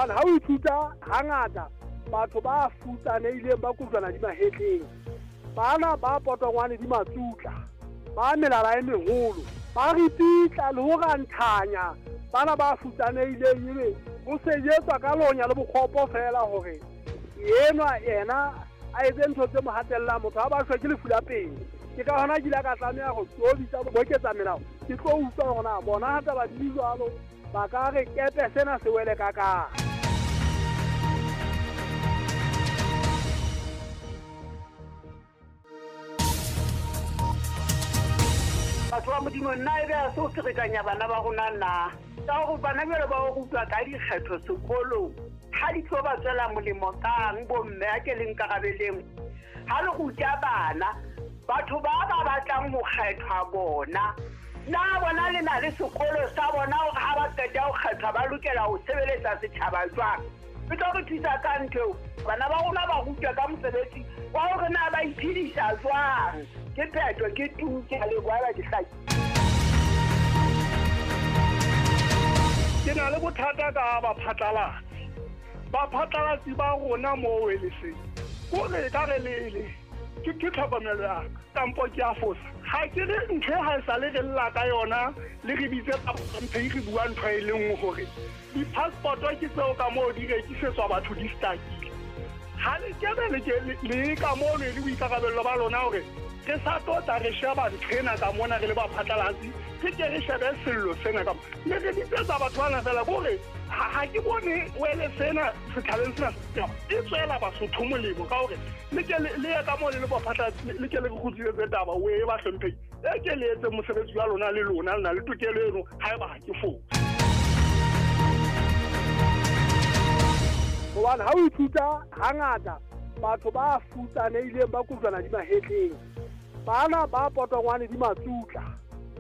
Hobane ha o ithuta hangata batho ba futsanehileng ba kojwana di mahetleng, bana ba potongwane di matsutla, ba melala e meholo, ba ripitla le ho ranthanya bana ba futsanehileng, ebe ho sejetswa ka lonya le bokgopo feela hore enwa yena a etse ntho tse mo hatellang. Motho ha ba shwe ke lefu la pelo. Ke ka hona ke ile ka tlameha ho tlo bitsa boketsa melao, ke tlo utlwa hore na bona ha taba di jwalo ba ka re kepe sena se wele ka kang. Batho ba Modimo, nna e be a se o ferekanya bana ba rona na? Ka gore bana jalo ba o rutwa ka dikgetho sekolong, ha di tlo ba tswela molemo kang bomme? A ke le nkarabeleng. Ha le ruta bana, batho ba ba batlang ho kgethwa bona, na bona le na le sekolo sa bona hore ha ba qeta ho kgethwa ba lokela ho sebeletsa setjhaba jwang? E tlo re thusa ka ntho eo. Bana ba rona ba rutwa ka mosebetsi wa hore na ba iphedisa jwang. Ke phetho, ke tu, ke a leboha ba ke hlaki. Ke na le bothata ka baphatlalatsi. Baphatlalatsi ba rona moo eleseng kore ka re lele ke tlhokomelo ya ka, kampo ke a fosa? Ha ke re ntho e ha e sale re lla ka yona, le re bitse mphe re bua ntho e le nngwe hore di-passport ke tseo ka moo di rekisetswa batho di stakile. Ha le kebe le ke le ka moo le boikarabello ba lona hore re sa tlo tla re sheba ntho ena ka mona re le baphatlalatsi, re ke re shebe sello sena ka le re bitsetsa batho bana fela kore ha ke bone wele sena setjhabeng sena e tswela Basotho molemo ka hore le ke le ye ka moo le le baphatlalatsi, le ke le re kgutlisetse taba o e bahlomphehi, e ke le etse mosebetsi wa lona, le lona le na le tokelo eno haeba ha ke fose. Hobane ha o ithuta hangata batho ba futsanehileng ba kojwana di mahetleng, bana ba potongwane di matsutla,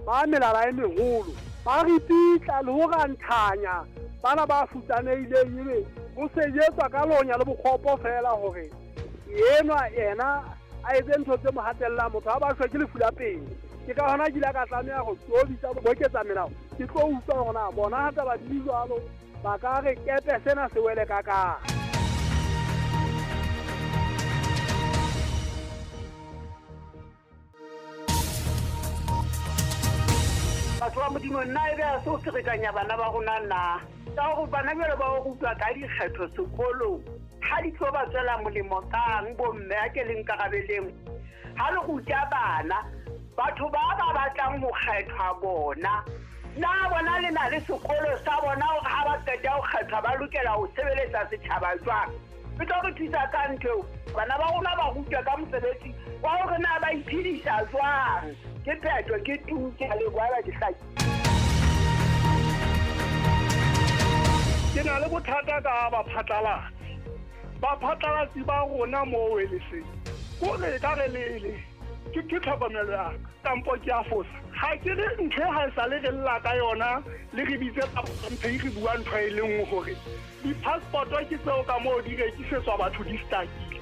ba melala e meholo, ba ripitla le ho ranthanya bana ba futsanehileng, ebe ho sejetswa ka lonya le bokgopo feela hore enwa yena a etse ntho tse mo hatellang. Motho ha ba shwe ke lefu la pelo. Ke ka hona ke ile ka tlameha ho tlo bitsa boketsa melao, ke tlo utlwa hore na bona ha taba di jwalo ba ka re kepe sena se wele ka kang. Batho ba Modimo, nna e be a se o ferekanya bana ba rona na? Ka gore bana jalo ba o rutwa ka dikgetho sekolong, ha di tlo ba tswela molemo kang bomme? A ke le nkarabeleng. Ha le ruta bana, batho ba ba batlang ho kgethwa bona, na bona le na le sekolo sa bona hore ha ba qeta ho kgethwa ba lokela ho sebeletsa setjhaba jwang? E tlo re thusa ka ntho eo. Bana ba rona ba rutwa ka mosebetsi wa hore na ba iphedisa jwang. Ke phetho, ke tu, ke a leboha ba ke hlaki. Ke na le bothata ka baphatlalatsi. Baphatlalatsi ba rona moo eleseng kore ka re lele ke tlhokomelo ya ka, kampo ke a fosa? Ha ke re ntho e ha e sale re lla ka yona, le re bitse mphe re bua ntho e le nngwe hore di-passport ke tseo ka moo di rekisetswa batho di stakile.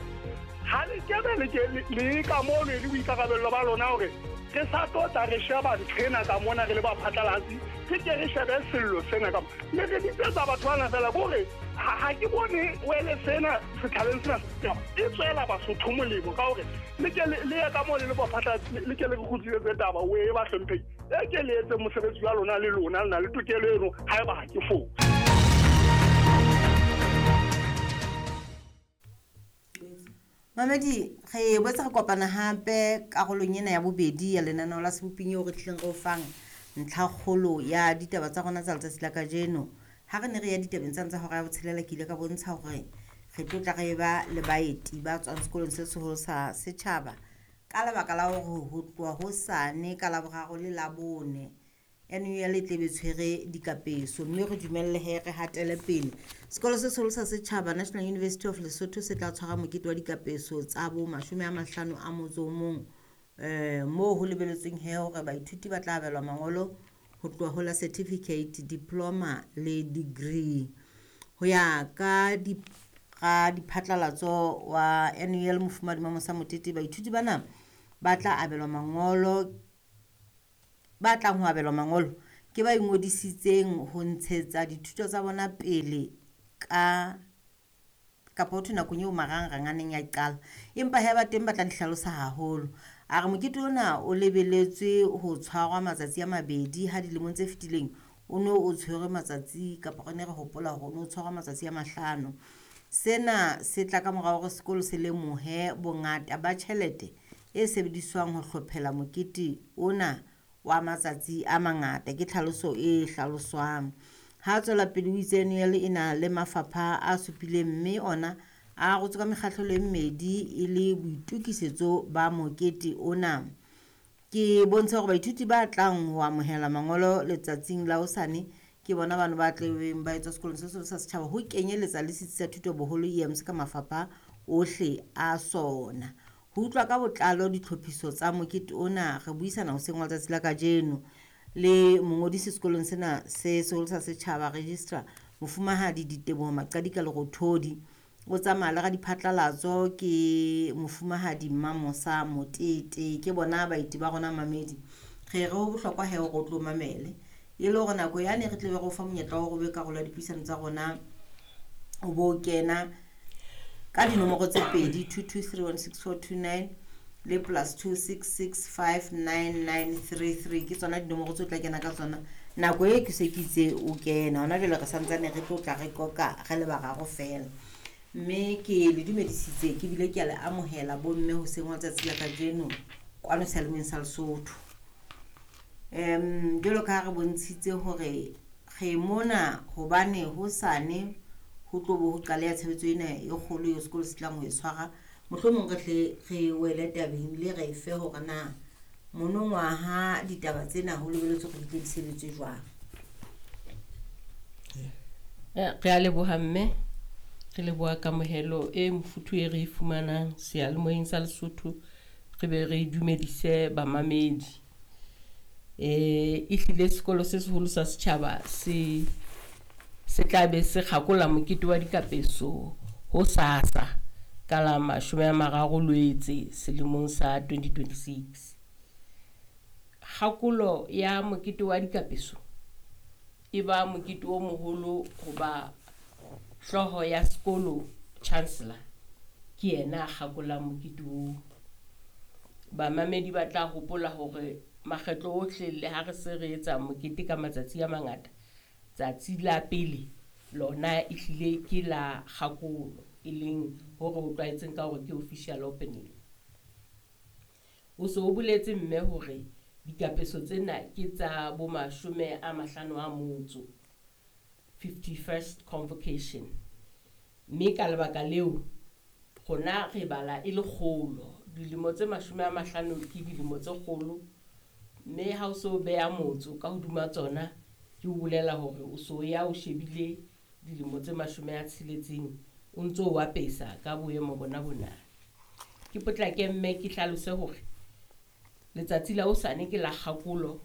Ha le kebe le ke le ka moo le boikarabello ba lona hore re sa tlo tla re sheba ntho ena ka mona re le baphatlalatsi, re ke re shebe sello sena ka le re bitsetsa batho bana fela kore ha ke bone wele sena setjhabeng sena e tswela Basotho molemo ka hore le ke le ye ka moo le le baphatlalatsi, le ke le re kgutlisetse taba o e bahlomphehi, e ke le etse mosebetsi wa lona, le lona le na le tokelo eno haeba ha ke fose. Mamedi, re boetse re kopana hape karolong ena ya bobedi ya lenaneo la Seboping eo re tlileng re o fang ntlhakgolo ya ditaba tsa rona tsa letsatsi la kajeno. Ha re ne re ya ditabeng tsane tsa hora ya botshelela, ke ile ka bontsha hore re tlo tla re ba le baeti ba tswang sekolong se seholo sa setjhaba ka lebaka la hore ho tloha hosane ka Laboraro le Labone NUL e tlebe tshwere dikapeso, mme re dumelle he re hatele pele. Sekolo se seholo sa setjhaba, National University of Lesotho, se tla tshwara mokete wa dikapeso tsa bo 51 moo ho lebeletsweng he hore baithuti ba tla abelwa mangolo ho tloha ho la certificate, diploma le degree. Ho ya ka diphatlalatso wa NUL Mofumahadi Mamosa Motete, baithuti bana ba tla abelwa mangolo, ba tlang ho abelwa mangolo ke ba ingodisitseng ho ntshetsa dithuto tsa bona pele ka kapa ho thwe nakong eo marangrang a neng a qala, empa he ba teng ba tla di hlalosa haholo. A re mokete ona o lebeletswe ho tshwarwa matsatsi a mabedi ha dilemong tse fetileng o no o tshwerwe matsatsi kapa re ne re hopola hore o no tshwarwa matsatsi a mahlano. Sena se tla ka mora hore sekolo se lemohe bongata ba tjhelete e sebediswang ho hlophela mokete ona wa matsatsi a mangata. Ke tlhaloso e hlaloswang. Ha tswela pele o itse NUL e na le mafapha a supileng mme ona a arotswe ka mekgahlelo e mmedi e le boitokisetso ba mokete ona. Ke bontshe hore baithuti ba tlang ho amohela mangolo letsatsing la hosane ke bona bano ba tlebeng ba etswa sekolong se seholo sa setjhaba ho kenyeletsa le setsi sa thuto boholo EMC ka mafapha ohle a sona. Ho utlwa ka botlalo ditlhophiso tsa mokete ona re buisana hoseng wa letsatsi la kajeno le mongodisi sekolong sena se seholo sa setjhaba registrar mofumahadi Diteboho Maqadika Lerothodi. O tsamaya le radiphatlalatso ke mofumahadi Mmamosa Motete. Ke bona baeti ba rona mamedi. Re re ho bohlokwa he hore o tlo mamele e le hore nako yane re tle be re o fa monyetla wa hore o be karolo ya dipuisano tsa rona, o bo kena ka dinomoro tse pedi 22316429 le plus 266599933 ke tsona dinomoro tse o tla kena ka tsona nako e ke se ke itse o kena. Hona jwale re santsane re tlo tla re qoqa re le bararo fela, mme ke le dumedisitse ke bile ke a le amohela bomme hoseng wa letsatsi la kajeno kwano seyalemoyeng sa Lesotho. Jwalo ka ha re bontshitse hore re mona hobane hosane ho tlo bo ho qaleha tshebetso ena e kgolo eo sekolo se tlang ho e tshwara, mohlomong re tle re wele tabeng le re fe hore na monongwaha ditaba tsena ho lebeletswe hore di tle di sebetswe jwang. Re a leboha mme, re leboha kamohelo e mofuthu e re e fumanang seyalemoyeng sa Lesotho, re be re dumedise bamamedi. Ehlile sekolo se seholo sa setjhaba se tla be se kgakola mokete wa dikapeso ho sasa ka la 30 Lwetse selemong sa 2026. Kgakolo ya mokete wa dikapeso e ba mokete o moholo hoba hlooho ya sekolo chancellor ke yena a kgakolang mokete oo. Bamamedi ba tla hopola hore makgetlo ohle le ha re se re etsa mokete ka matsatsi a mangata, tsatsi la pele lona ehlile ke la kgakolo, e leng hore o tlwaetseng ka hore ke official opening. O so o boletse mme hore dikapeso tsena ke tsa bo 50 a motso, 51st convocation. Mme ka lebaka leo rona re bala e le kgolo, dilemo tse 50 ke dilemo tse kgolo, mme ha o so beha motso ka hodima tsona ke o bolela hore o so ya o shebile dilemo tse 60 o ntso o apesa ka boemo bona bona. Ke potlake mme ke hlalose hore letsatsi la hosane ke la kgakolo,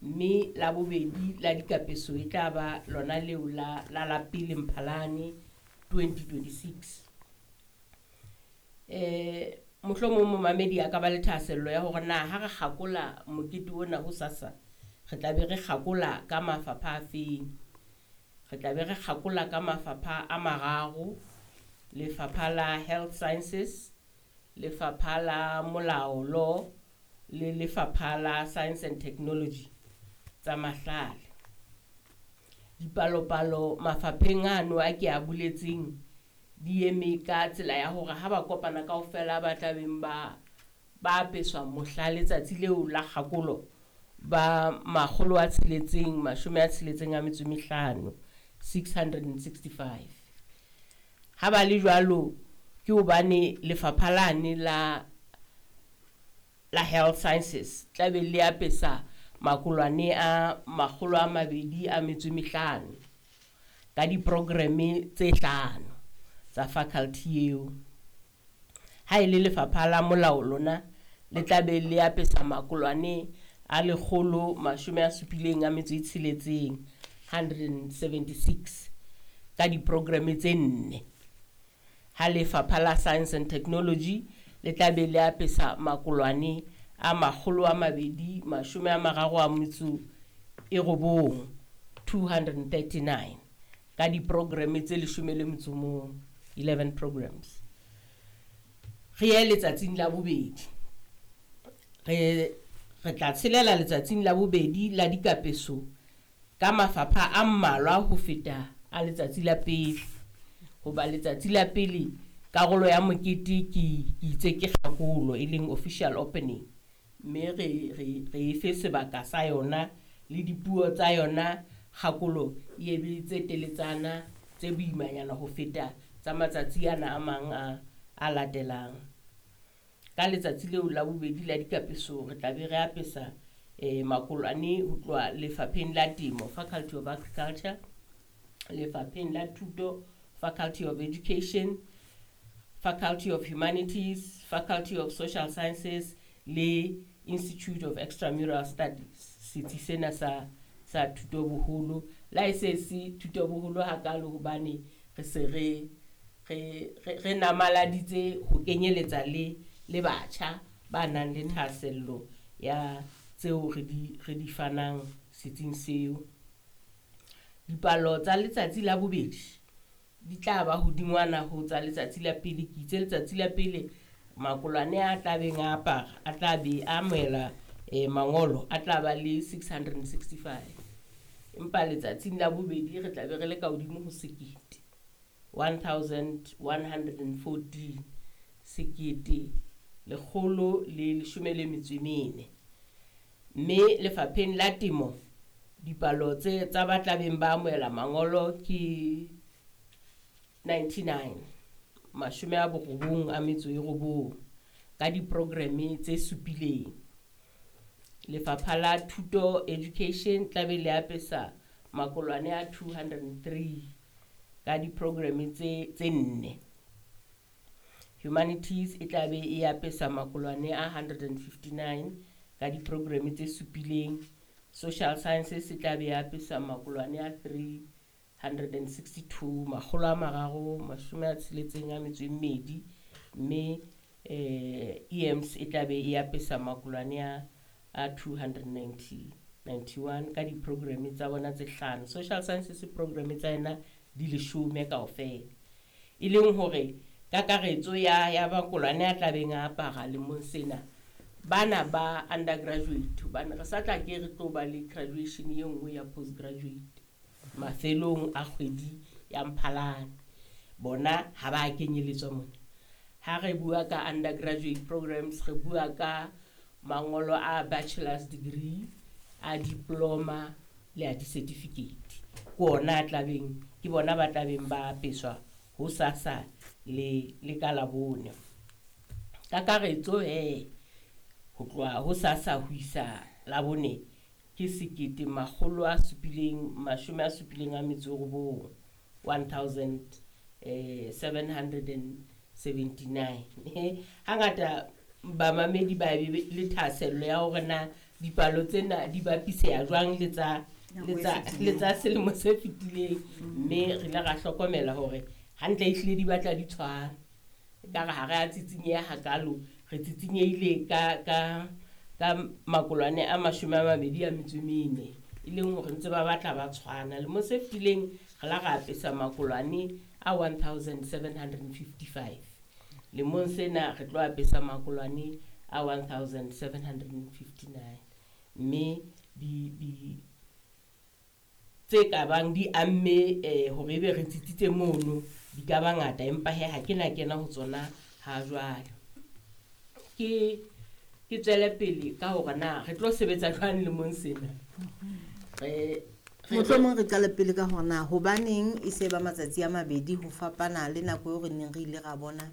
mme la bobedi la dikapeso e tla ba lona leo la la pele Mphalane 2026. Mohlomong momamedi a ka ba le thahasello ya hore na ha re kgakola mokete ona hosasa re tla be re kgakola ka mafapha a feng. Re tla be re kgakola ka mafapha a mararo: lefapha la health sciences, lefapha la molao law, le lefapha la science and technology tsa mahlale. Dipalopalo mafapheng ano a ke a boletseng di eme ka tsela ya hore ha ba kopana kaofela ba tla beng ba apeswa mohla letsatsi leo la kgakolo ba 665, 665. Ha ba le jwalo ke hobane lefapha lane la health sciences tla be le apesa makolwane a 205 ka diprogramme tse 5 tsa faculty eo. Ha e le lefapha la molao lona le tla be le apesa makolwane a 176, 176 ka diprogramme tse 4. Ha lefapha la science and technology le tla be le apesa makolwane a 239, 239 ka ka diprogramme tse 11, 11 programs. Re ye letsatsing la bobedi. Re tla tshelela letsatsing la bobedi la dikapeso ka mafapha a mmalwa ho feta a letsatsi la pele. Hoba letsatsi la pele karolo ya mokete ke itse ke kgakolo e leng official opening, mme re e fe sebaka sa yona le dipuo tsa yona. Kgakolo e be tse teletsana tse boimanyana ho feta tsa matsatsi ana a mang a latelang. Ka letsatsi leo la bobedi la dikapeso re tla be re apesa makolwane ho tloha lefapheng la temo, Faculty of Agriculture, lefapheng la thuto, Faculty of Education, Faculty of Humanities, Faculty of Social Sciences le Institute of Extramural Studies, setsi sena sa thuto boholo. La e se se thuto boholo hakalo hobane re se re namaladitse ho kenyeletsa le batjha ba nang le thahasello ya tseo re di fanang setsing seo. Dipalo tsa letsatsi la bobedi di tla ba hodingwana ho tsa letsatsi la pele. Ke itse letsatsi la pele makolwane a tla beng a apara, a tla be a amohela mangolo a tla ba le 665, empa letsatsing la bobedi re tla be re le ka hodimo ho sekete, 1114, sekete lekgolo le leshome le metso e mene. Mme lefapheng la temo dipalo tse tsa ba tlabeng ba amohela mangolo ke 99, 99 ka diprogramme tse supileng. Lefapha la thuto education tlabe le apesa makolwane a 203 ka diprogramme tse nne. Humanities e tlabe e apesa makolwane a 159 ka diprogramme tse supileng. Social Sciences e tlabe e apesa makolwane a 362, 362, mme EMS e tlabe e apesa makolwane a 291 ka diprogramme tsa bona tse hlano. Social Sciences programme tsa yena di leshome kaofela, e leng hore kakaretso ya makolwane a tlabeng a apara lemong sena bana ba undergraduate, hobane re sa tla ke re tlo ba le graduation e nngwe ya postgraduate mafelong a kgwedi ya Mphalane, bona ha ba kenyeletswa mona. Ha re bua ka undergraduate programs, re bua ka mangolo a bachelor's degree, a diploma le a di-certificate. Ke ona a tlabeng, ke bona ba tlabeng ba apeswa ho sasa le ka Labone. Kakaretso ho tloha ho sasa ho isa Labone ke 1779, 1779. Hangata bamamedi ba be le thahasello ya hore na dipalo tsena di bapiseha jwang le tsa selemo se fetileng, mme re ile ra hlokomela hore hantle ehlile di batla di tshwana. Ekare ha re a tsitsinyeha hakalo, re tsitsinyehile ka makolwane a 24, e leng hore ntse ba batla ba tshwana. Lemong se fetileng re la ra apesa makolwane a 1755, lemong sena re tlo apesa makolwane a 1759, mme di tse ka bang di amme hore ebe re tsitsitse mono di ka ba ngata, empa he ha ke na kena ho tsona ha jwale. Ke tswele pele ka hore na re tlo sebetsa jwang lemong sena. Mohlomong re qale pele ka hore na hobaneng e se ba matsatsi a mabedi ho fapana le nako eo re neng re ile ra bona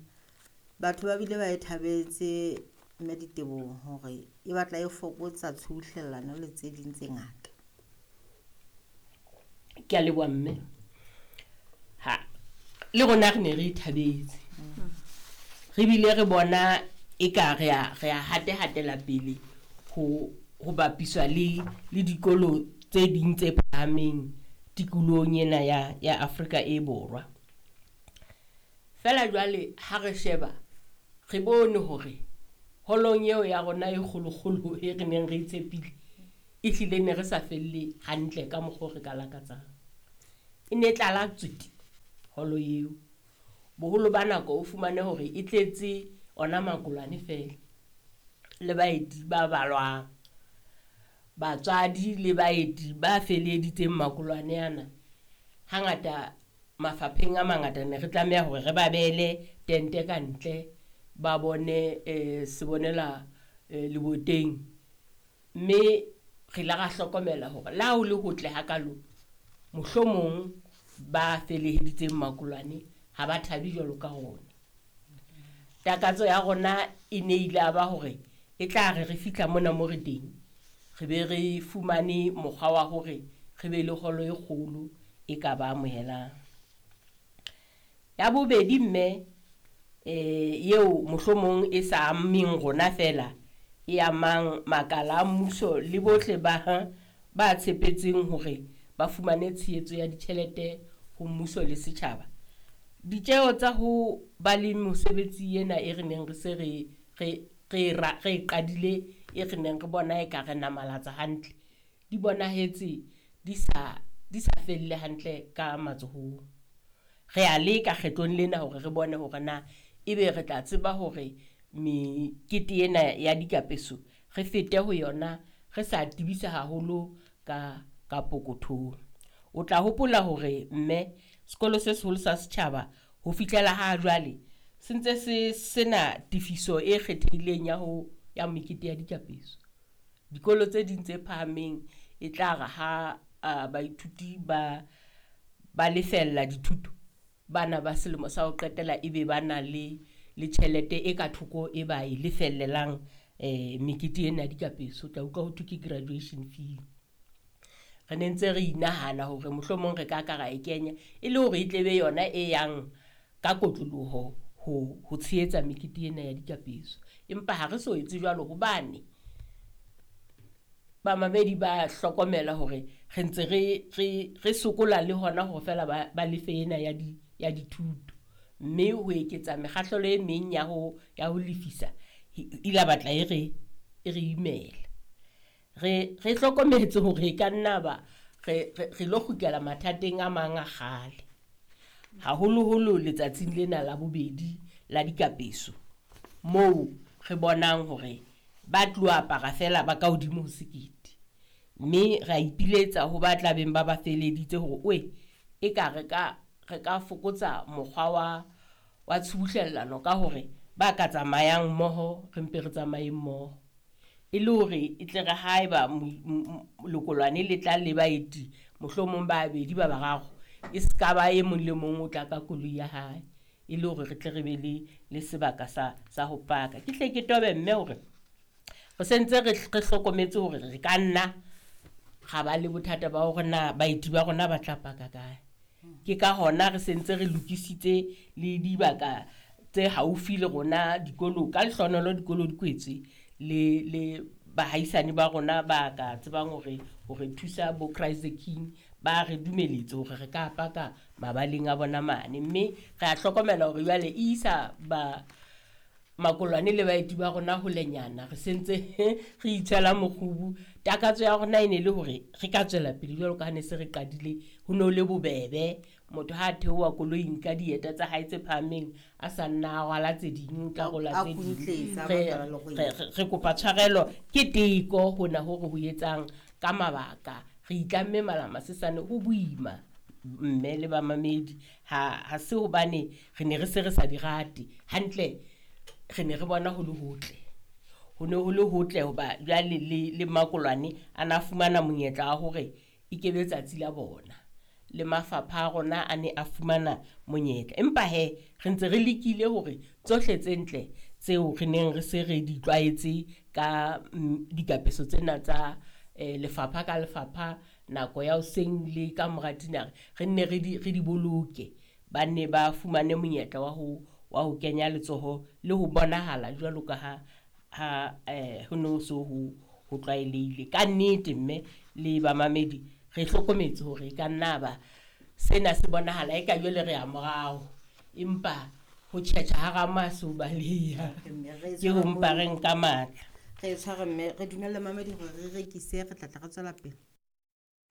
batho ba bile ba e thabetse mme ditebong hore e batla e fokotsa tshubuhlellano le tse ding tse ngata. Ke a leboha mme. Ha le rona re ne re ithabetse, re bile re bona eka re a hatehatela pele ho bapiswa le dikolo tse ding tse phahameng tikolohong ena ya Afrika e Borwa. Fela jwale ha re sheba re bone hore holong eo ya rona e kgolokgolo e re neng re itshepile e hlile ne re sa felle hantle ka mokgwa o re ka lakatsang. E ne tlala tswete holo eo. Boholo ba nako o fumane hore e tletse ona makolwane feela le baeti ba balwang. Batswadi le baeti ba feleleditseng makolwane ana, hangata mafapheng a mangata ne re tlameha hore re ba beele tente ka ntle ba bone sebonela leboteng. Mme re ile ra hlokomela hore le ha ho le hotle hakalo, mohlomong ba feleheditseng makolwane ha ba thabe jwalo ka rona. Takatso ya rona e ne ile ya ba hore e tla re re fihla mona mo re teng, re be re fumane mokgwa wa hore re be le holo e kgolo e ka ba amohelang. Ya bobedi mme, eo mohlomong e sa ameng rona feela, e amang makala a mmuso le bohle ba tshepetseng hore ba fumane tshehetso ya ditjhelete ho mmuso le setjhaba. Ditjeho tsa ho ba le mosebetsi ena e re neng re se re e qadile, e re neng re bona e ka re namalatsa hantle, di bonahetse di sa felle hantle ka matsohong. Re a leka kgetlong lena hore re bone hore na ebe re tla tseba hore mekete ena ya dikapeso re fete ho yona re sa tebisa haholo ka pokothong. O tla hopola hore mme sekolo se seholo sa setjhaba ho fihlela ha jwale se ntse se sena tefiso e kgethehileng ya mekete ya dikapeso. Dikolo tse ding tse phahameng e tla re ha baithuti ba lefella dithuto, bana ba selemo sa ho qetela ebe ba na le tjhelete e ka thoko e ba e lefellelang mekete ena ya dikapeso. O tla utlwa ho thwe ke graduation fee. Re ne ntse re inahana hore mohlomong re ka ra e kenya e le hore e tle be yona e yang ka kotloloho ho tshehetsa mekete ena ya dikapeso. Empa ha re so etse jwalo hobane bamamedi ba hlokomela hore re ntse re sokola le hona hore feela ba lefe ena ya dithuto. Mme ho eketsa mekgahlelo e meng ya ho lefisa ila batla e re imela. Re hlokometse hore e ka nna ba re lo kgutlela mathateng a mang a kgale, haholoholo letsatsing lena la bobedi la dikapeso, moo re bonang hore ba tlo apara feela ba ka hodimo ho sekete. Mme ra ipiletsa ho ba tlabeng ba feleditse hore oe e ka re ka fokotsa mokgwa wa tshubuhlellano ka hore ba ka tsamayang mmoho re mpe re tsamaye mmoho, e le hore e tle re haeba lekolwane le tla le baeti mohlomong ba babedi ba bararo, e se ka ba e mong le mong o tla ka koloi ya hae, e le hore re tle re be le sebaka sa ho paka. Ke hle ke tobe mme hore re sentse re hlokometse hore re ka nna ga ba le bothata ba hore na baeti ba rona ba tla paka kae. Ke ka hona re sentse re lokisitse le dibaka tse haufi le rona dikolo, ka lehlonolo dikolo di kwetswe le bahaisane ba rona ba ka tsebang hore thusa bo Christ the King ba re dumeletse hore re ka paka mabaleng a bona mane. Mme re a hlokomela hore jwale e isa ba makolwane le baeti ba rona holenyana, re sentse re itshwela mokgubu. Takatso ya rona e ne le hore re ka tswela pele jwalo ka ha ne se re qadile, ho no le bobebe. Motho ha theoha koloing ka dieta tsa hae tse phahameng a sa nna a rwala tse ding, ka rola tse ding. Re kopa tshwarelo, ke teko hona hore ho etsang ka mabaka. Re itlamme malama sesane ho boima mme le bamamedi, ha se hobane re ne re se re sa di rate hantle, re ne re bona ho le hotle. Ho ne ho le hotle hoba jwale le makolwane a na fumana monyetla wa hore e kebe tsatsi la bona, le mafapha a rona a ne a fumana monyetla. Empa he re ntse re lekile hore tsohle tse ntle tseo re neng re se re di tlwaetse ka dikapeso tsena tsa lefapha ka lefapha, nako ya hoseng le ka mora dinare, re nne re di boloke, ba nne ba fumane monyetla wa ho kenya letsoho le ho bonahala jwalo ka ha ho no so ho tlwaelehile. Ka nnete mme le bamamedi re hlokometse hore ka nna ba sena se bonahala e ka jwale re ya morao, empa ho tjhetjha hara maso baleha ke ho mpa re nka matla. Re tshware mme re dumelle mamedi hore re rekise, re tla tla re tswela pele.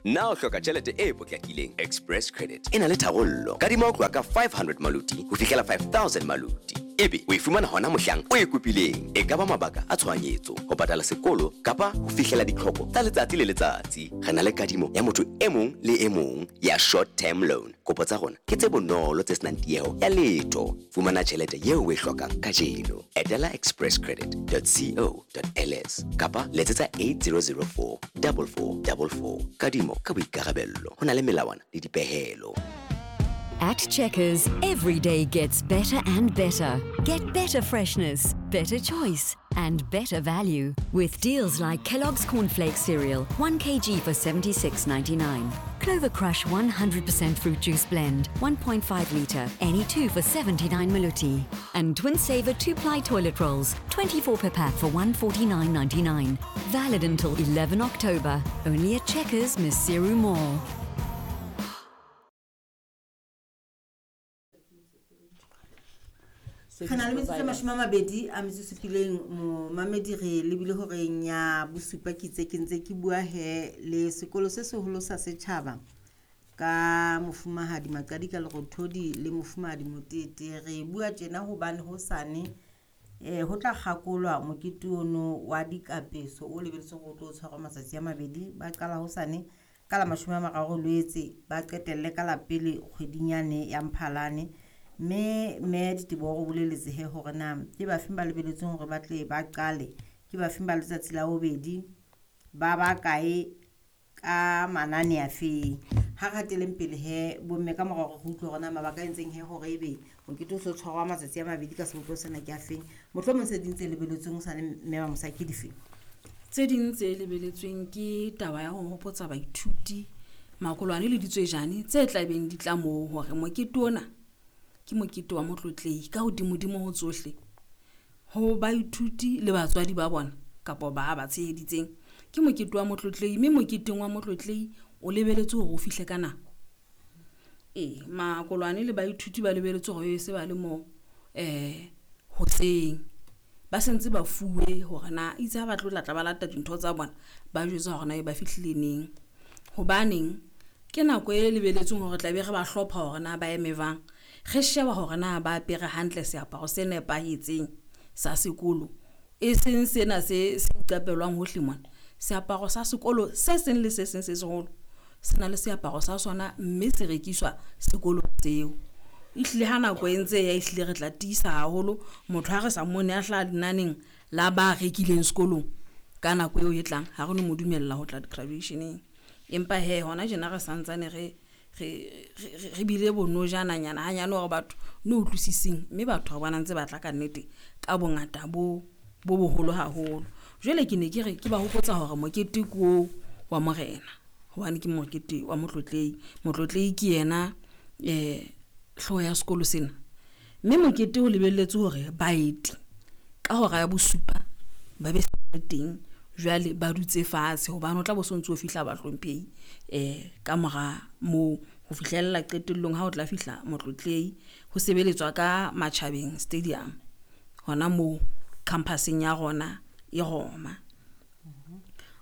Na o hloka tjhelete e potlakileng? Express Credit e na le tharollo. Kadima ho tloha ka 500 maluti ho fihlela 5000 maluti. Ebe o e fumana hona mohlang o e kopileng. E ka ba mabaka a tshohanyetso, ho patala sekolo kapa ho fihlela ditlhoko tsa letsatsi le letsatsi. Re na le kadimo ya motho e mong le e mong ya short term loan. Kopo tsa rona ke tse bonolo tse senang tieho ya letho. Fumana tjhelete eo o e hlokang kajeno. Etela expresscredit.co.ls kapa letsetsa 8004 4444. Kadimo ka boikarabello. Ho na le melawana le dipehelo. At Checkers, every day gets better and better. Get better freshness, better choice, and better value with deals like Kellogg's Cornflakes cereal, 1 kg for 76.99. Clover Crush 100% fruit juice blend, 1.5 litre, any two for 79 maluti. And Twin Saver 2-ply toilet rolls, 24 per pack for 149.99. Valid until 11 October. Only at Checkers, Maseru Mall. Re na le metsotso e 27 momamedi re lebile horeng ya bosupa ke itse ke ntse ke bua he le sekolo se seholo sa setjhaba ka mofumahadi Maqadi ka Lerothodi le mofumahadi Motete. Re bua tjena hobane hosane ho tla kgakolwa mokete ono wa dikapeso o lebeletsweng hore o tlo tshwarwa matsatsi a mabedi. Ba qala hosane ka la 30 Loetse, ba qetelle ka la pele kgweding yane ya Mphalane. Mme Diteboho o boleletse he hore na ke bafeng ba lebeletsweng hore ba tle ba qale, ke bafeng ba letsatsi la bobedi, ba ba kae ka manane a feng. Ha re hateleng pele he bomme ka mora hore re utlwe hore na mabaka a entseng he hore ebe mokete o so tshwarwa matsatsi a mabedi ka sebopeho sena ke a feng. Mohlomong tse ding tse lebeletsweng ho sane mme wa Mosaki ke dife? Tse ding tse lebeletsweng ke taba ya ho hopotsa baithuti makolwane le ditswejane tse tlabeng di tla moo hore mokete ona ke mokete wa motlotlehi ka hodimodimo ho tsohle ho baithuti le batswadi ba bona kapa ba ba tsheheditseng. Ke mokete wa motlotlehi, mme moketeng wa motlotlehi o lebeletse hore o fihle ka nako. Ee, makolwane le baithuti ba lebeletse hore se ba le mo hoseng, ba sentse ba fuwe hore na itse ha ba tlo tla ba lata dintho tsa bona, ba jwetsa hore na e ba fihlile neng. Hobaneng ke nako e lebeletsweng hore tla be re ba hlopha hore na ba eme jwang, re sheba hore na ba apere hantle seaparo se nepahetseng sa sekolo, e seng sena se se iqapelwang hohle mona. Seaparo sa sekolo se seng le se seng se seholo se na le seaparo sa sona, mme se rekiswa sekolong seo. Ehlile ha nako e ntse ya ehlile re tla tiisa haholo motho ha re sa mmone a hlaha lenaneng la ba rekileng sekolong ka nako eo e tlang, ha re no mo dumella ho tla graduation-eng. Empa he hona tjena re santsane re re bile bonojananyana hanyane hore batho no utlwisiseng, mme batho re bona ntse ba tla ka nnete ka bongata bo bo boholo haholo. Jwale ke ne ke re ke ba hopotsa hore mokete ke oo wa morena, hobane ke mokete wa motlotlehi. Motlotlehi ke yena hlooho ya sekolo sena, mme mokete o lebelletse hore baeti ka hora ya bosupa ba be teng, jwale ba dutse fatshe hobane o tla bo so ntso fihla bahlomphehi ka mora moo ho fihlella qetellong ha o tla fihla motlotlehi. Ho sebeletswa ka Matjhabeng Stadium hona moo campuseng ya rona e Roma.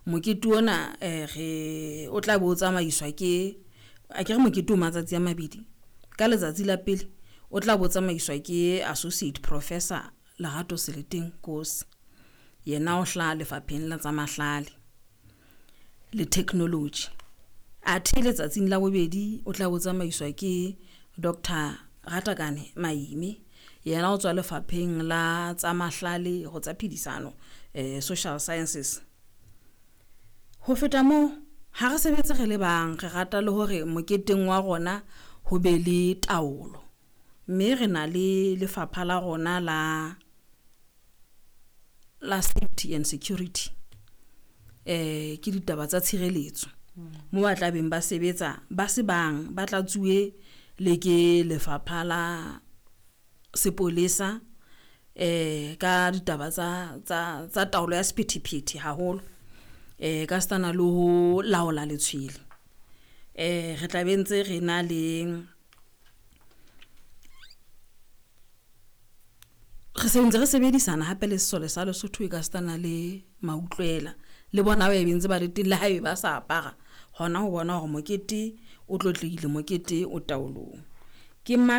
Mokete ona re o tla bo tsamaiswa ke akere mokete o matsatsi a mabedi. Ka letsatsi la pele o tla bo tsamaiswa ke Associate Professor Lerato Seleteng Nkosi, yena o hlaha lefapheng la tsa mahlale le technology. Athe letsatsing la bobedi o tla bo tsamaiswa ke Dr. Ratakane Maime, yena o tswa lefapheng la tsa mahlale ho tsa phedisano, social sciences. Ho feta moo, ha re sebetse re le bang, re rata le hore moketeng wa rona ho be le taolo, mme re na le lefapha la rona la safety and security, ke ditaba tsa tshireletso mo ba tla beng ba sebetsa ba se bang, ba tla tsuwe le ke lefapha la sepolesa ka ditaba tsa taolo ya sephethephethe haholo, ka setana le ho laola letshwele. Re tla be ntse re na le re se ntse re sebedisana hape le sesole sa Lesotho e ka setana le mautlwela Le bona ba be ntse ba le teng le haebe ba sa apara, hona ho bona hore mokete o tlotlehile, mokete o taolong. Ke matha.